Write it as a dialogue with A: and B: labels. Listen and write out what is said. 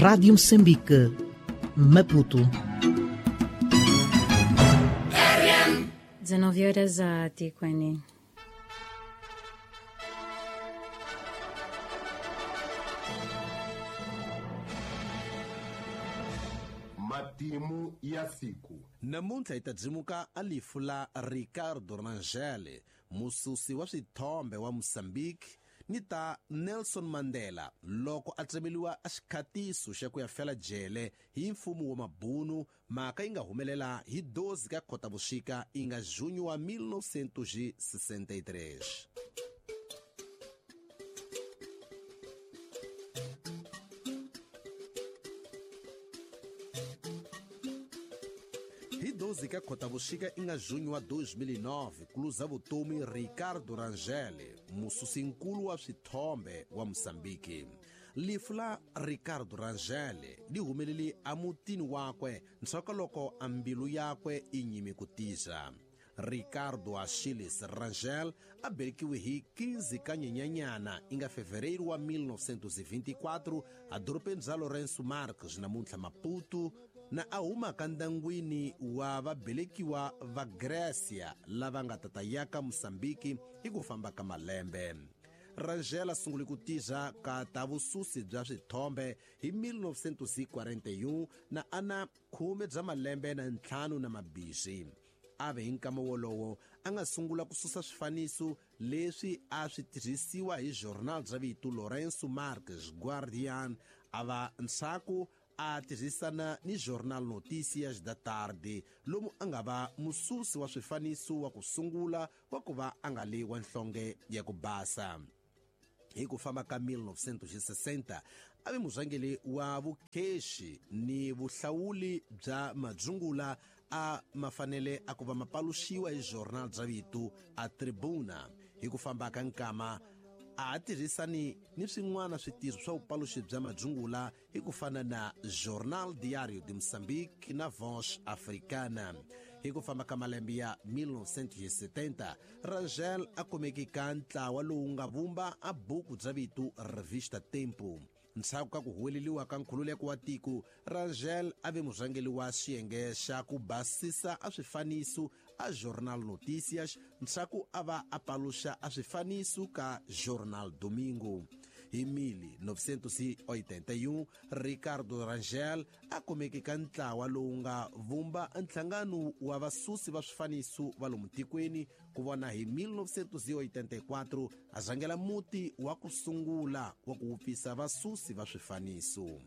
A: Rádio Moçambique, Maputo.
B: 19 horas a Tiquene.
C: Matimu ya siku.
D: Namuntlha hi ta dzimuka a lifu la Ricardo Rangel, mususi wa swithombe wa Mozambique, ni ta Nelson Mandela loko a tsemeliwa a xikhatiso xa ku ya fela jele hi mfumo wa mabunu, mhaka yi nga humelela hi 12 ka Khotavuxika yi nga junho wa 1963. Hi 12 ka Khotavuxika i nga junho wa 2009 ku luza vutomi Ricardo Rangel, mususinkulu wa swithombe wa Mozambique. Lifu la Ricardo Rangel li humelele emutini wakwe ndzhaku loko a mbilu yakwe i nyime ku tisa. Ricardo Achilles Rangel a belekiwe hi 15 ka Nyenyanyana i nga fevereiro wa 1924 edorobeni bya Lourenço Marques namuntlha Maputo, na a humaka ndyangwini wa vabelekiwa va Grécia lava nga tata yaka Mozambique hi ku famba ka malembe. Rangel a sungule ku tirha ka ta vususi bya swithombe hi 1941 na ana 10 bya malembe na ntlhanu na mabixi. A ve hi nkama wolowo a nga sungula ku susa swifaniso leswi a swi tirhisiwa hi journal bya vito Lourenço Marques Guardian, a va ndzhaku a tirhisana ni Jornal Notícias da Tarde, lomu a nga va mususi wa swifaniso wa ku sungula wa ku va a nga le wa nhlonge ya ku basa. Hi ku famba ka 1960 a ve murhangeri wa vukhexi ni vuhlawuli bya madzungula a mafanele a ku va mapaluxiwa hi journal bya vito a Tribuna. Hi ku famba ka nkama a tirhisani ni swin'wana switirho swa vupaluxi bya madzungula hi ku fana na Jornal Diário de Moçambique na Voz Africana. Hi ku famba ka malembe ya 1970, Rangel a kumeke ka ntlawa lowu nga vumba a buku bya vito Revista Tempo. Ndzhaku ka ku huweleliwa ka nkhululeko wa tiko, Rangel a ve murhangeri wa xiyenge xa ku basisa a swifaniso a Jornal Notícias, ndzhaku a va a paluxa a swifaniso ka Jornal Domingo. Hi 1981, Ricardo Rangel a kumeke ka ntlawa lowu nga vumba nhlangano wa vasusi va swifaniso va lomu tikweni, ku vona hi 1984 a rhangela muti wa ku sungula wa ku wupfisa vasusi va swifaniso.